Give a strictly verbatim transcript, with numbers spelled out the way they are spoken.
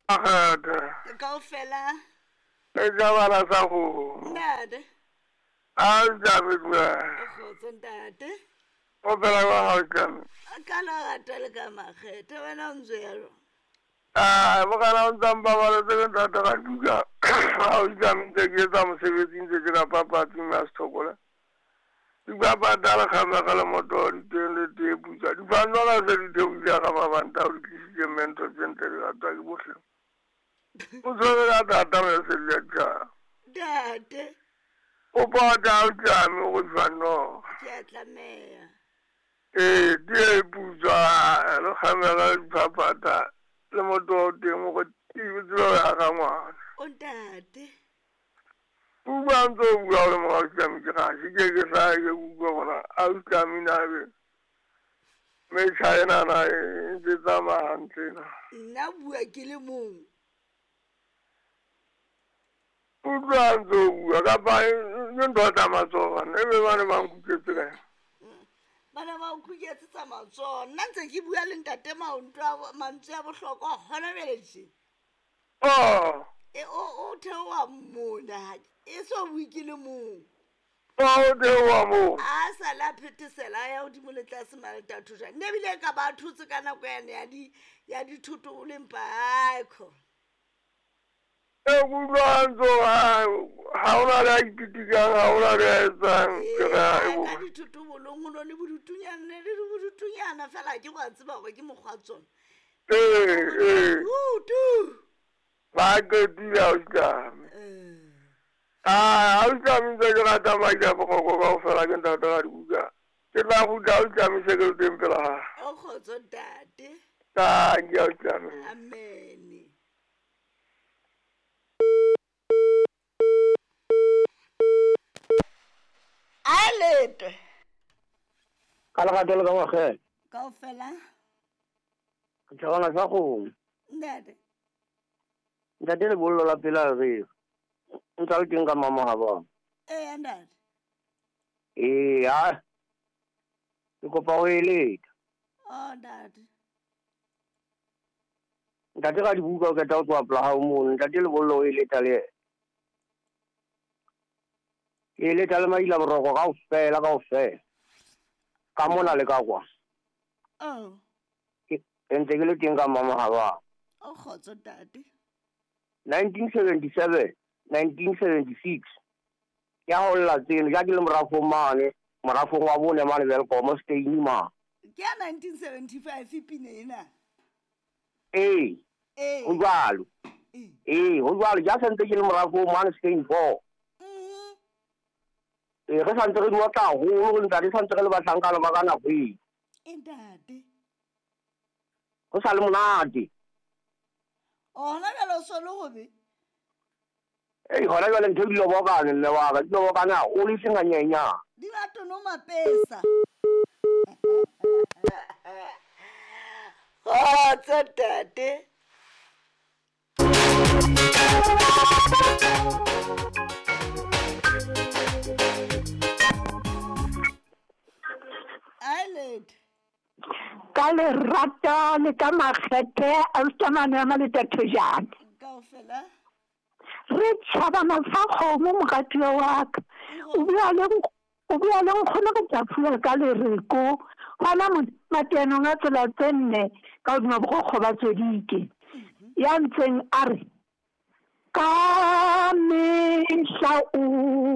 Makgethe. Kaofela. E tjabala sa kgomo. Ntate. A o tjame dumela. Kgotso ntate. O phela jwang ha o tjame? Ka lerato le ka makgethe wena o ntse ya jwang? Ah, mokgala o ntsa mpabaletse ke ntate ka duka. Ha o tjame ntse ke etsa mosebetsi ntse ke ka papatsi mme a sethokola. Dipapata le kgamega le motoho di teng le tee putswa. Dipanola se di theohile ka mabanta o di tlisitse mme ntho tse ntle di ratwa ke bohle. O tshwere ka thata mesedi ya tjhaba. Ntate. O pota o tjame o go tshwanno. Ke a tlameha. Ee, tee e putswa le kgamega le diphaphatha le motoho teng o go tsebe ho ya ka ngwana. O ntate. O bua ntse o bua o le mora ausi ke gaše ke ke hlae ke utlwa gona ausi na be metšha enana e ntse tsamaya hantle na. Nna bua ke le mong. Utlwa ntse o bua kapa ke ntho tsa matsoho bana ebe bane ba nkuketse kae? Bana ba o khuketse tsa matsoho. Nna ntse ke bua le ntate maonto a mantswe a bohlokwa hona bjale tje. Oh. E o o theoha mona e so bue ke le mong. O theoha moo. A sa la phethesela ya hodimo le tlase maleta thotjana. Nne ebile ka ba thotse ka nako yane ya di ya dithoto o leng paekho. E utlwa ntse ha hona le a ipitikang, ha hona le a etsang. Ke re Ee, ka dithoto bolong ho no le bodutunyana le bodutunyana fela ke go tseba hore ke mokgwa tsona. Ee, ee. Tutu. Ba qetile ausi. Ah, ausi ntse ke rata madi a boroko kaofela ke ntate ka dibuka. Ke tla kgutla ausi se ke le teng pela hao. O kgotso ntate. Tanki ausi. Amen. A letwe. Ka lerato le ka makgethe. Kaofela. Ke tjhabana sa kgomo. Ntate. Ntate lebollo la pela re. Ntsa le teng ka mama ha ba. Ee ntate. Ee, ha. Ke kopa ho eletsa. Oh ntate. Ntate ka dibuka o qeta ho tloha pela hao mono. Ntate lebollo o eletsa le yena. Ke eletsa le maila boroko kaofela kaofela. Ka mona le ka kwa. Oh. Ke ntse ke le teng ka mama ha ba. O kgotso ntate. nineteen seventy-seven, nineteen seventy-six. Ke a holla tseno, ja ke le morafong mane, morafong wa bone mane Welkom Stein ma. Ke ya nineteen seventy-five pina ena. Ee. Ee. Ho jwalo. Ee, ho jwalo, ja santse ke le morafong mane Stein four. Mhm. Ee, re santse re di otla haholo, ntate santse re le bahlankana ba ka nako eo. E ntate. Ho sa le monate. Oh, hona jwale o so le hobe? Ei, hona jwale ntho di lobokane mme wa ka, di lobokane haholo e seng hanyenyane. Di batho no mapesa. Kgotso ntate. Eyelid. Ka lerato le ka makgethe ausi mane ma le thojana. Kaofela. Re tjhabana sa kgomo moratuwa wa ka. O bua le o bua le nkgono re tla phula ka lereko. Hona mateanong a tsela tse nne ka hodima borokgo ba tswedike. Ya ntseng a re ka mehla o